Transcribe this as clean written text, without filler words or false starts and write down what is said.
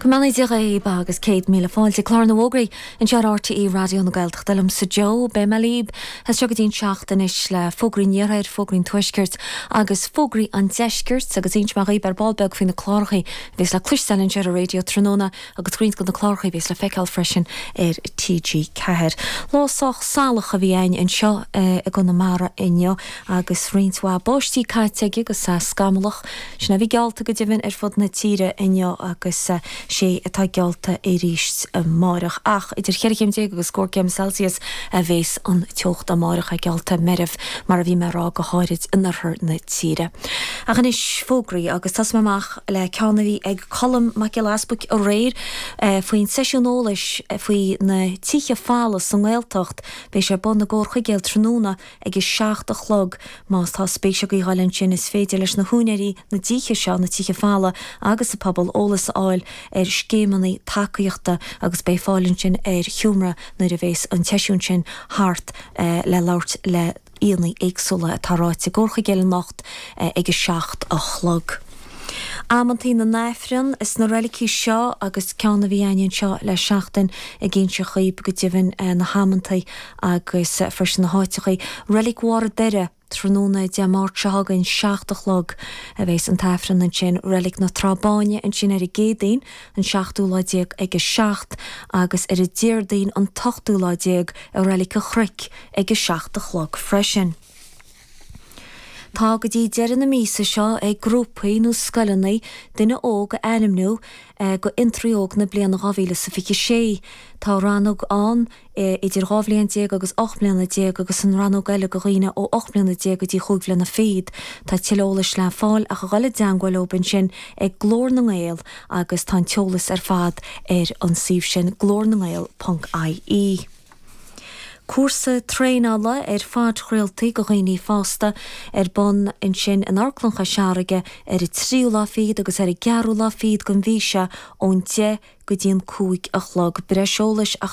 Go mbeannaí Dia dhaoib agus 100,000 fáilte. Clár na bhFógraí anseo ar RTÉ Raidió na Gaeltachta liomsa Joe. Beidh mé libh as seo go dtí an 7 anois le fógraí an Iarthair, fógraí an Tuaiscirt agus fógraí an Deiscirt agus inseoidh mé dhaoib ar ball beag faoi na clárachaí a bhéas le cloisteáil anseo ar an raidió tráthnóna agus roinnt de na clárachaí a bhéas le feiceáil freisin ar TG4. Lá sách salach a bhí againn anseo i gConamara inniu agus roinnt mhaith báistí caite aige agus é scamallach. Sin é a bhí geallta go deimhin ar fud na tíre inniu agus sé atá geallta arís amáireach. Ach idir cheithre chéim déag agus scór céim Celsius a bhéas an teocht amáireach, é geallta meirbh mar a bhí mé a rá, go háirid in oirthear na tíre. Ach anois fógraí agus tosóidh mé amach le ceann a bhí ag Colm Mac Giolla Easbuic aréir faoin seisiún eolais faoi na tithe folamh sa nGaeltacht. Beidh sé ar bun i gComhar Chuigéil tráthnóna ag a 7 a chlog. Más tá spéis agaibh a ghoil ansin is féidir leis na húinéirí na dtithe seo, na tithe folamh agus an pobal eolas a fháil ar scéimeanna tacaíochta agus beidh fáil ansin ar sheomra nuair a bhéas an tseisiún sin thart le labhairt le aíonna éagsúla atá ráite i gComhar Chuigéil anocht ag a 7 a chlog. Amantaí na nAifreann is na reilicí seo agus ceann a bhí againn anseo le seachtain ag inse dhaoib go deimhin na hamantaí agus freisin na háiteachaí. Reilig Bharr a' Doire, tráthnóna Dé Máirt seo chugainn, 7 a chlog a bheas an tAifreann ansin. Reilig na Trá Báine ansin ar an gCéadaoin, an seachtú lá déag ag a 7 agus ar an Déardaoin an t-ochtú lá déag i Reilig an Chnoic ag a 7 a chlog freisin. Tá go dtí deireadh na míosa seo ag grúpaí nó scoileanna duine óg a ainmniú go Fhiontraí Óg na bliana 2026. Tá rannóg ann idir 12 bhliain agus 18 mbliana agus an rannóg eile go dhaoine ó 8 mbliana go dtí chúig bhliana fichead. Tá tuilleadh eolais le fáil ach a dhul i dteangmháil leob ansin ag Glór na nGael agus tá an t-eolas ar fad ar an suíomh sin glórnangael ponc ie. Cúrsa traenála ar phodchraoltaí go dhaoine fásta ar bun ansin in Amharclann Chois Fharraige ar an tríú lá fichead agus ar an gceathrú lá fichead den mhí seo ón 10 go dtí an 5 a chlog. Breis eolais ach.